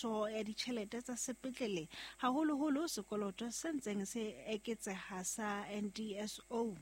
tshebediso ya ditjhelete tsa sepetlele, haholoholo sekoloto se ntseng se eketseha sa NDSO.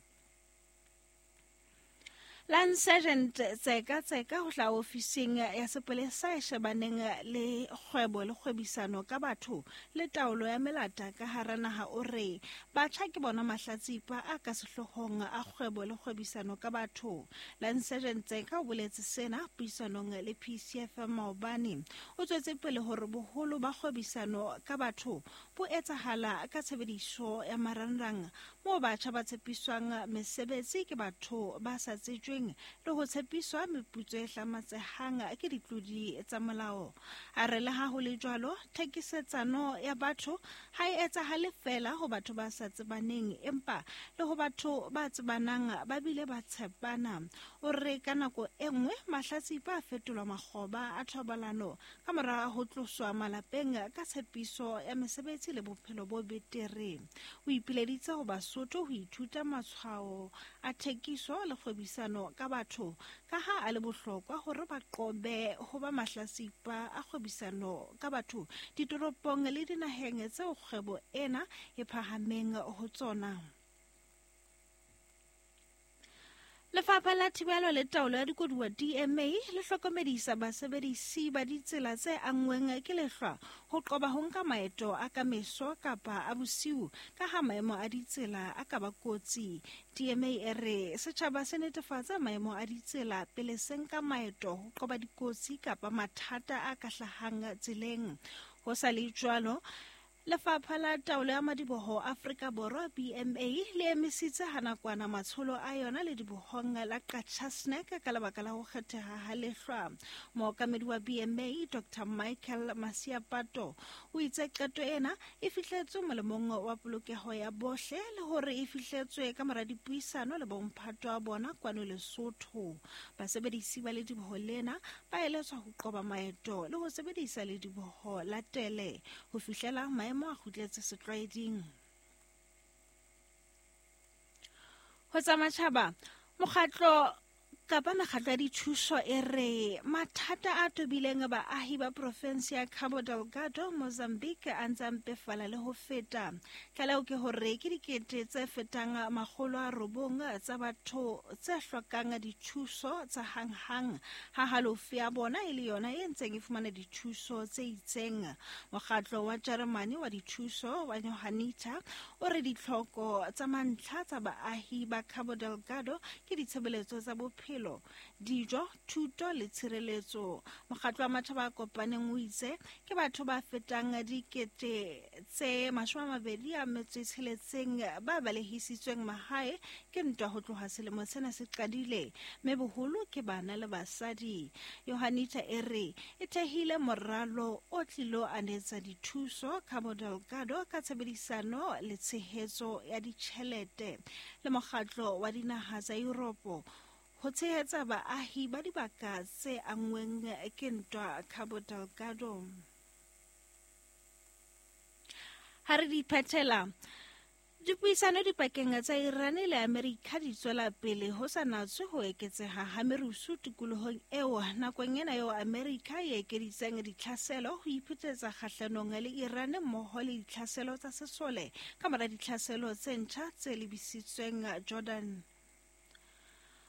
Lance Sergeant Tseka Tseka ho hlaha ofising ya sepolesa e shebaneng le kgwebo le kgwebisano ka batho le taolo ya melata ka hara naha o re batjha ke bona mahlatsipa a ka sehloohong a kgwebo le kgwebisano ka batho. Lance Sergeant Tseka o boletse sena puisanong le PCFM maobane. O tswetse pele hore boholo ba kgwebisano ka batho bo etsahala ka tshebediso ya marangrang moo batjha ba tshepiswang mesebetsi ke batho ba sa tsejweng le ho tshepiswa meputso e hlamatsehang ke ditlodi tsa molao. A re le ha ho le jwalo, thekisetsano ya batho ha e etsahale feela ho batho ba sa tsebaneng, empa le ho batho ba tsebanang ba bile ba tshepana. O re ka nako e nngwe mahlatsipa a fetolwa makgoba a thobalano ka mora ho tloswa malapeng ka tshepiso ya mesebetsi le bophelo bo betere. O ipileditse ho Basotho ho ithuta matshwao a thekiso le kgwebisano ka batho ka ha a le bohlokwa hore ba qobe ho ba mahlasipa a kgwebisano ka batho ditoropong le dinaheng tseo kgwebo ena e phahameng ho tsona. Lefapha la Thibelo le Taolo ya Dikoduwa DMA le hlokomedisa basebedisi ba ditsela tse anngweng ke lehlwa ho qoba ho nka maeto a ka meso kapa a bosiu ka ha maemo a ditsela a ka ba kotsi. DMA e re setjhaba se netefatsa maemo a ditsela pele se nka maeto ho qoba dikotsi kapa mathata a ka hlahang tseleng. Ho sa le jwalo, Lefapha la Taolo ya Madiboho Afrika Borwa, BMA, le emisitse ha nakwana matsholo a yona ledibohong la Qacha's-Nek ka lebaka la ho kgetheha ha lehlwa. Mookamedi wa BMA, Dr Michael Masiapato, o itse qeto ena e fihletswe molemong wa polokeho ya bohle le hore e fihletswe ka mora dipuisano le bomphato wa bona kwano Lesotho. Basebedisi ba lediboho lena ba eletswa ho qoba maeto le ho sebedisa lediboho la tele ho fihlela maemo a kgutletse setlwaeding. Ho tsa matjhaba, mokgatlo kapa mekgatlo ya dithuso e re mathata a tobileng baahi ba profensi ya Cabo Delgado, Mozambique a ntse a mpefala le ho feta. Tlaleho ke hore ke dikete tse fetang 900 tsa batho tse hlokang dithuso tsa hanghang, ha halofo ya bona e le yona e ntseng e fumana dithuso tse itseng. Mokgatlo wa Jeremane wa dithuso wa Johanniter o re ditlhoko tsa mantlha tsa baahi ba Cabo Delgado ke ditshebeletso tsa bophelo, dijo, thuto le tshireletso. Mokgatlo wa Matjhaba a Kopaneng o itse ke batho ba fetang 26,000 ba balehisitsweng mahae ke ntwa ho tloha selemo sena se qadile, mme boholo ke bana le basadi. Johanniter e re e thehile moralo o tlilo anetsa dithuso Cabo Delgado ka tshebedisano le tshehetso ya ditjhelete le mokgatlo wa dinaha tsa Europe ho tshehetsa baahi ba dibaka tse anngweng ke ntwa Cabo Delgado. Ha re di phethela, dipuisano dipakeng tsa Iran le Amerika di tswela pele ho sa natswe ho eketseha ha merusu tikolohong eo nakong ena eo Amerika e ekeditseng ditlhaselo ho iphetetsa kgahlanong le Iran mmoho le ditlhaselo tsa sesole ka mora ditlhaselo tse ntjha tse lebisitsweng Jordan.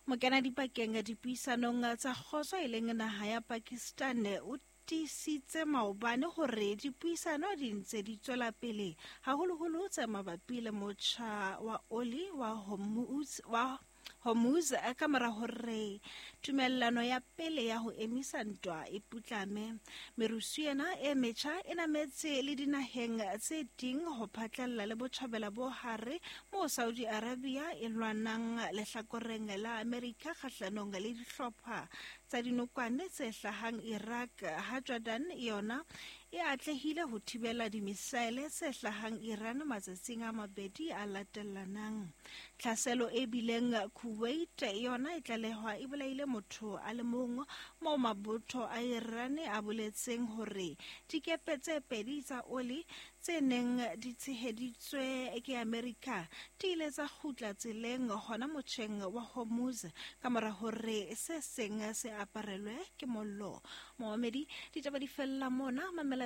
Mokenadipakeng dipuisanong tsa kgotso e leng naha ya Pakistan o tiisitse maobane hore dipuisano di ntse di tswela pele haholoholo tse mabapi le motjha wa oli wa Hormuz ka mora hore tumellano ya pele ya ho emisa ntwa e putlame. Merusu ena e metjha e nametse le dinaheng tse ding ho phatlalla le botjhabela bo hare moo Saudi Arabia e lwanang lehlakoreng la Amerika kgahlanong le dihlopha tsa dinokwane tse hlahang Iraq, ha Jordan yona e atlehile ho thibela dimisaele tse hlahang Iran matsatsing a mabedi a latellanang. Tlhaselo e bileng Kuwait yona e tlalehwa e bolaile motho a le mong, moo mabotho a Iran a boletseng hore dikepe tse pedi tsa oli tse neng di tsheheditswe ke Amerika di ile tsa kgutla tseleng hona motjheng wa Hormuz ka mora hore se seng se aparelwe ke mollo. Momamedi, ditaba di fella mona. Mamela